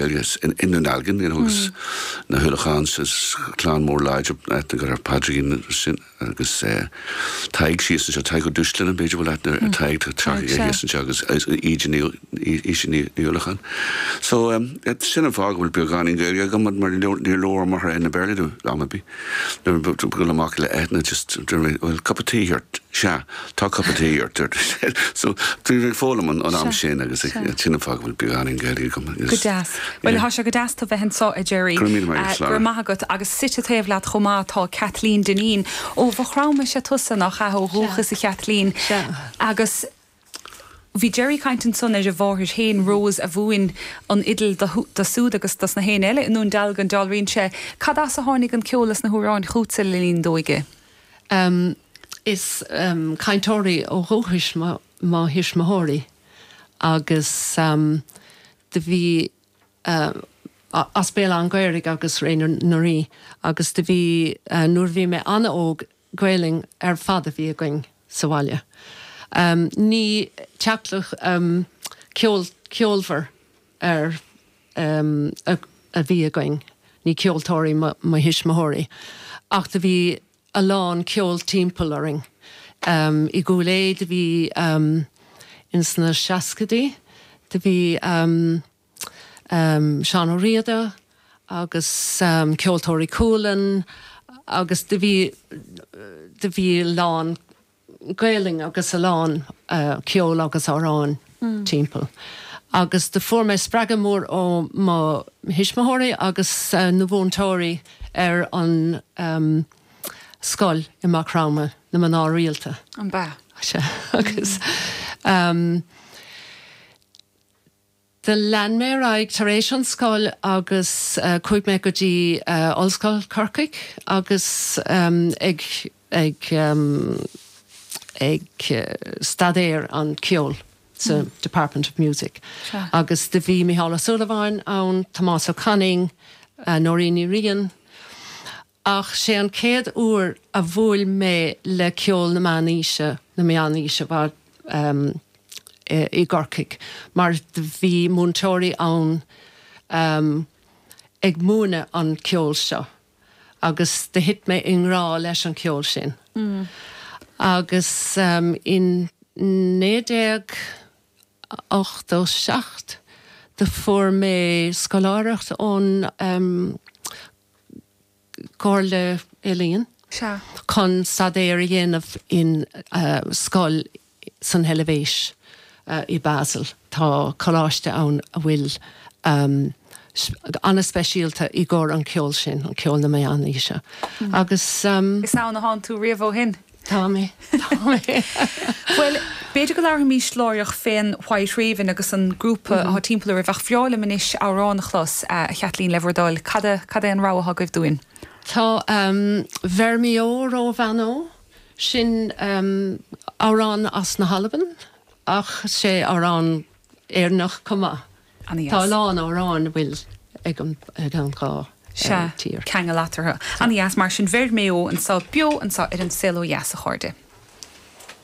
Gaeilge i nDún Dealgan, you know, agus na hUallacháin, is clann mór láidir aithne agat ar Phádraigín sin agus Tadhg síos anseo, Tadhg Ó Dúshláine, b'fhéidir bhfuil aithne ar Tadhg, tá teach aige thíos anseo agus Íde Ní Íde Ní Uallacháin. So sin an fáth go bhfuil beagáinín Gaeilge agam mar níor labhair m'athair aon Béarla liom am ar bith. Nuair a dul amach le Eithne just dúirt mé bhfuil cup of tea ort? Sea, tá cup of tea ort. So bhí mé ag foghlaim an am sin agus sin an fáth go bhfuil beagáinín Gaeilge agam. Go deas. Bhuel tá sé go deas tú bheith anseo a Gerry. Go raibh míle maith agat, Go raibh maith agat. Agus suite taobh leat chomh maith tá Kathleen Dineen. Ó Mhaigh Chromtha is ea tusa, nach ea, ó dhúchas a Chathleen. Sea. Agus Bhí Gerry ag caint ansan ar a mháthair féin, Rose, a mhúin an fhidil do siúd agus dos na héinne eile i nDún Dealgan, dealraíonn sé. Cad as a tháinig an ceol is na hamhráin chútsa le linn d'óige? Is cainteoirí ó dhúchais mo thuismitheoirí agus do bhí as Béal Átha an Ghaorthaidh agus Réidh na Rí agus do bhí nuair a bhí mé an-óg Gaelainn ar fad a bhí againn sa bhaile. Ní teaghlach ceol ceolmhar ar a bhí againn, ní ceoltóirí mo thuismitheoirí ach do bhí a lán ceol timpeall orainn. I gCúil Aodha do bhí ins na seascaidí do bhí. Seán Ó Riada agus Ceoltóirí Chualann agus do bhí, do bhí a lán Gaelainn agus a lán ceol agus amhráin timpeall. Agus do fuair mé spreagadh mór ó mo thuismitheoirí agus na mhúinteoirí ar an scoil i Maigh Chromtha, na mná rialta. An b'ea? Sea. Agus. Do lean mé ar aghaidh tar éis an scoil agus chuaigh mé go dtí Ollscoil Corcaigh agus ag ag ag staidéar an ceol sa Department of Music. Agus do bhí Mícheál Ó Súilleabháin ann, Tomás Ó Cainín, Nóirín Ní Riain. Ach sé an chéad uair a bhuail mé le ceol na meánaoise, na meánaoise ba i gCorcaigh, mar do bhí múinteoirí ann ag múineadh an ceol seo agus do thit mé i ngrá leis an cheol sin. Agus in 1987 do fuair mé scoláireacht ón gComhairle Ealaíon chun staidéar a dhéanamh in scoil san Eilvéis i Basel. Tá coláiste ann a bhfuil an-speisialta i gcomhair an ceol sin, an ceol na meánaoise. Agus. Is ann a thánn tú riamh ó shin. Tá mé. Tá mé. Bhuel, b'fhéidir go labharfaimís láithreach fén White Raven agus an grúpa atá timpeall oraibh, ach bhreá liom anois amhrán a chlos, a Chaitlín, le bhur dtoil. Cad a, cad é an rogha atá agaibh dúinn? Tá Bheir Mi Eo Ró Bhean Ó, sin amhrán as na hAlban, ach sé amhrán Éireannach chomh maith. Ana-dheas. Tá a lán amhráin a bhfuil ag an dhá Sea, tír. ceangal eatarthu. Ana-dheas mar sin. Bheir Mé Ó anseo, beo anseo ar An Saol Ó Dheas, a chairde.